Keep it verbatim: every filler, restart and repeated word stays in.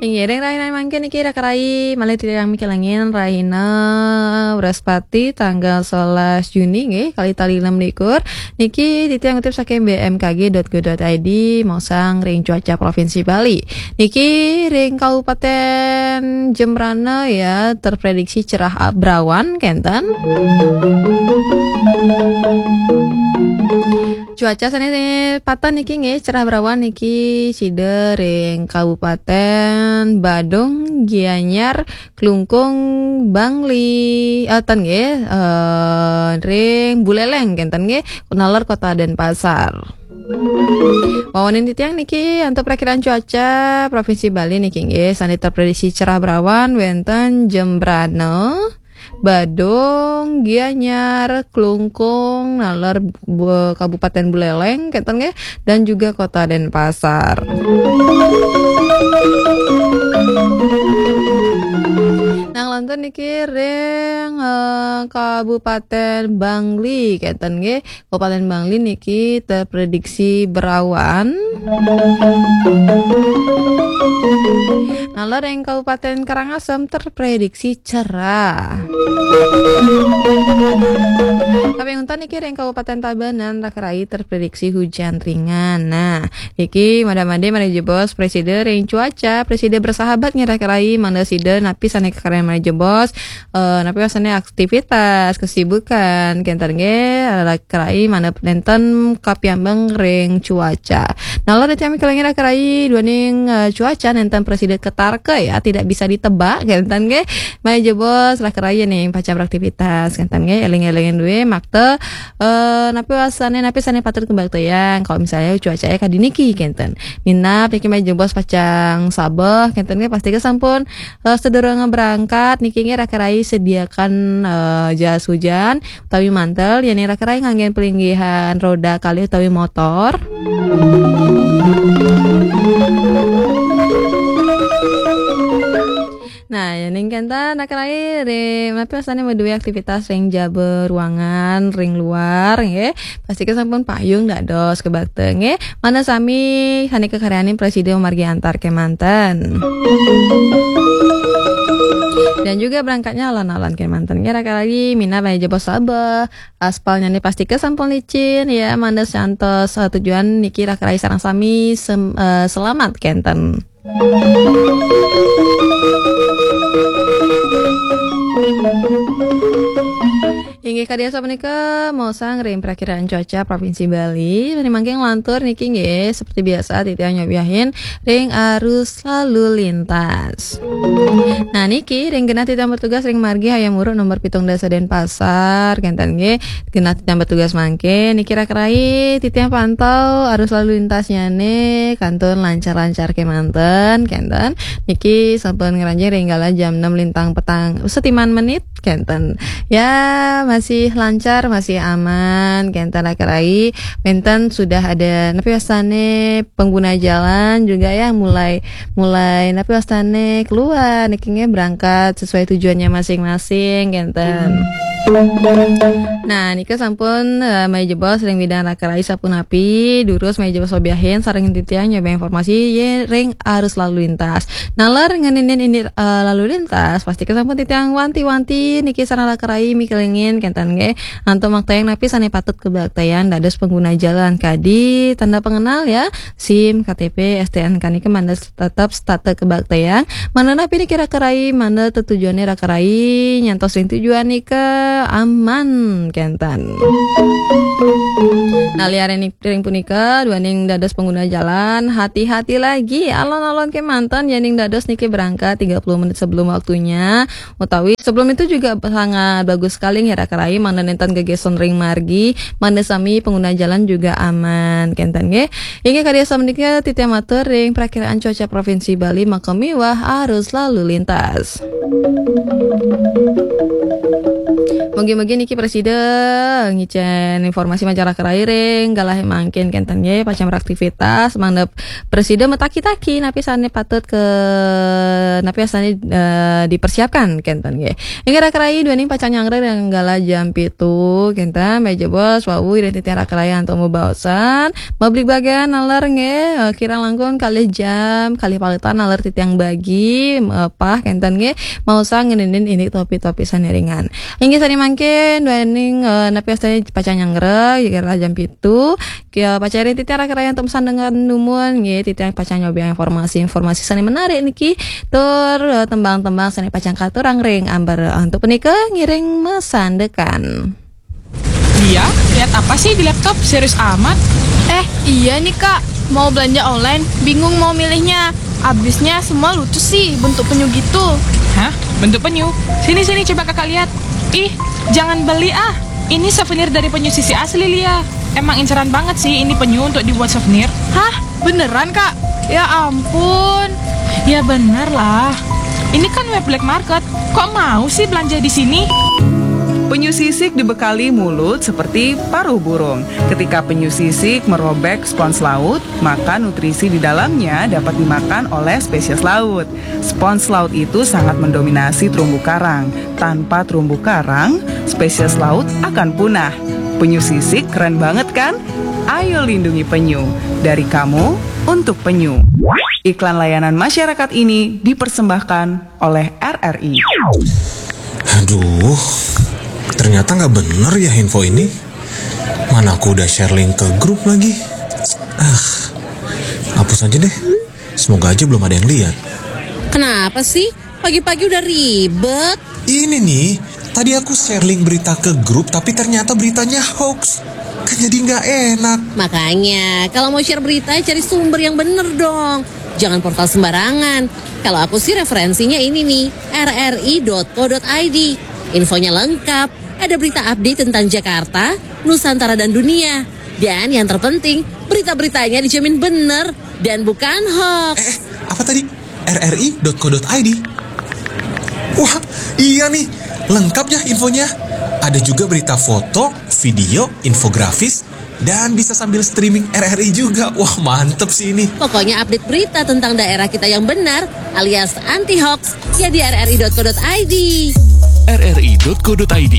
Inggih, ring rahina mangkin niki raka rayi malih titiang mikelingin rahina Wrespati tanggal sebelas Juni nggih, kalih tali enam likur. Niki titiang ngutip saking B M K G dot go dot I D, mosang ring cuaca Provinsi Bali. Niki ring Kabupaten Jembrana ya, terprediksi cerah berawan kenten. Cuaca sane pateh niki nggih, cerah berawan niki sida ring Kabupaten Badung, Gianyar, Klungkung, Bangli, eh, ten nggih, eh, ring Buleleng kenten nggih, naler Kota Denpasar. Wawanin titiang niki antuk prakiraan cuaca Provinsi Bali niki nggih, sane terprediksi cerah berawan wenten Jembrana, Badung, Gianyar, Klungkung, naler Bu-, Kabupaten Buleleng kenten nggih, dan juga Kota Denpasar. Nah, lantur niki ring, eh, Kabupaten Bangli kenten nggih. Kabupaten Bangli niki terprediksi berawan. Naler ring Kabupaten Karangasem terprediksi cerah. Tapi untuk niki ring Kabupaten Tabanan raka rayi terprediksi hujan ringan. Nah, niki mada-mada malih jebos presida ring cuaca, presida bersahabat nggih raka rayi, mangda sida napi sane kakaryan malih jebos, eh, napi wasane aktivitas, kesibukan, kenten nggih, raka rayi mangda nenten kapiambeng ring cuaca. Naler titiang mikelingin raka rayi duaning, eh, cuaca nenten presida ketarka ya, tidak bisa ditebak, kenten nggih. Malih jebos raka rayi ning pacang beraktivitas, kenten nggih, eling-elingin duwe makta, eh, napi wasane, napi sane patut kabaktayang. Kalau misalnya cuacanya kadi niki, kenten. Minab niki malih jebos pacang sabeh, kenten nggih, pastika sampun, eh, sedurung berangkat niki nggih raka rayi sediakan, eh, jas hujan utawi mantel, yen raka rayi nganggen pelinggihan roda kalih utawi motor. Nah, yening kenten raka rayi ring, napi wasane maduwe aktivitas ring jaba ruangan, ring luar, nggih. Pastika sampun payung dados kebakta, nggih. Mangda sami sane kakaryanin presida mamargi antar kemanten. Dan juga berangkatnya alon-alon kemanten, nggih, raka rayi minab malih jebos sabeh. Aspalnyane pastika sampun licin, ya, mangda santos, eh, tujuan niki raka rayi sareng sami sem-, eh, selamat kenten. Inggih, kadi asapunika mosang ring prakiraan cuaca Provinsi Bali. Mangkin nglantur niki nggih, seperti biasa titiang nyobiahin ring arus lalu lintas. Nah, niki ring genah titiang bertugas ring margi Hayam Wuruk nomor pitung dasa Denpasar, kenten nggih. Genah titiang bertugas mangkin niki raka rayi titiang pantau arus lalu lintasnyane kantun lancar-lancar kemanten, kenten. Niki sampun ngranjing ring galah jam enam lintang petang setiman menit, kenten. Ya, masih lancar, masih aman, kenten raka rayi. Wenten sudah ada, napi wasane, pengguna jalan juga ya mulai, mulai, napi wasane, keluar niki nggih, berangkat sesuai tujuannya masing-masing, kenten. Nah, nika sampun, eh, malih jebos ring bidang raka rayi sapunapi, durus malih jebos sobiahin sareng titiang nyobiahang informasi ring arus lalu lintas. Naler ngeninin ini, eh, lalu lintas, pastika sampun titiang wanti-wanti niki sareng raka rayi mikelingin, kenten nggih. Antuk maktayang napi sane patut kabaktayang dados pengguna jalan kadi tanda pengenal ya, SIM, K T P, S T N K niki mangda tetep setata kabaktayang. Mangda napi niki raka rayi, mangda tetujone raka rayi nyantos ring tujuan nika aman kenten. Nah, liaran ring punika, duaning dados pengguna jalan, hati-hati lagi. Alon-alon kemanten yening dados niki berangkat tiga puluh menit sebelum waktunya, utawi sebelum itu juga sangat bagus sekali nggih raka rayi, mangda nenten gegeson ring margi, mangda sami pengguna jalan juga aman, kenten nggih. Inggih, kadi asapunika titiang matur ring prakiraan cuaca Provinsi Bali, maka miwah arus lalu lintas. Mugi-mugi niki prasida ngicén informasi masyarakat ring galah mangkin kénten nggih, pacang beraktivitas, mangda prasida mataki-taki napi sané patut ke, napi sané, eh, dipersiapkan kénten nggih. Inggih raka rayi, duaning pacang nyanggra ring galah jam pitu kénten, meja bos, wau ring titiang raka rayi antuk mabaosan, mabligbagan naler nggih, eh, kirang langkung kalih jam, kalih paletan naler titiang bagi, eh, pah kénten nggih, maosang ngeninin indik topik-topik sané ringan. Inggih sané mangkin, duaning, eh, napi sané pacang nyanggra, kira jam pitu, kia pacang ring titiang raka rayi antuk masandekan dumun, nggih, titiang pacang nyobiahang informasi-informasi sané menarik niki, tur, eh, tembang-tembang sané pacang katurang ring ambar. Antuk punika ngiring masandekan. Dia, lihat apa sih di laptop? Serius amat. Eh, iya nih kak, mau belanja online, bingung mau milihnya. Abisnya semua lucu sih, bentuk penyu gitu. Hah? Bentuk penyu? Sini, sini, coba kakak lihat. Ih, jangan beli ah. Ini souvenir dari penyu sisik asli, Lia. Emang inceran banget sih ini penyu untuk dibuat souvenir. Hah? Beneran kak? Ya ampun. Ya bener lah. Ini kan web black market. Kok mau sih belanja di sini? Penyu sisik dibekali mulut seperti paruh burung. Ketika penyu sisik merobek spons laut, maka nutrisi di dalamnya dapat dimakan oleh spesies laut. Spons laut itu sangat mendominasi terumbu karang. Tanpa terumbu karang, spesies laut akan punah. Penyu sisik keren banget kan? Ayo lindungi penyu. Dari kamu, untuk penyu. Iklan layanan masyarakat ini dipersembahkan oleh R R I. Aduh, ternyata nggak bener ya info ini. Mana aku udah share link ke grup lagi. Ah, hapus aja deh. Semoga aja belum ada yang lihat. Kenapa sih? Pagi-pagi udah ribet. Ini nih, tadi aku share link berita ke grup tapi ternyata beritanya hoax. Kan jadi nggak enak. Makanya, kalau mau share berita, cari sumber yang bener dong. Jangan portal sembarangan. Kalau aku sih referensinya ini nih, rri.co.id. Infonya lengkap, ada berita update tentang Jakarta, Nusantara dan dunia. Dan yang terpenting, berita-beritanya dijamin bener dan bukan hoax. Eh, apa tadi? rri.co.id. Wah, iya nih, lengkap ya infonya. Ada juga berita foto, video, infografis, dan bisa sambil streaming R R I juga. Wah, mantep sih ini. Pokoknya update berita tentang daerah kita yang benar alias anti hoax ya di rri.co.id. rri.co.id.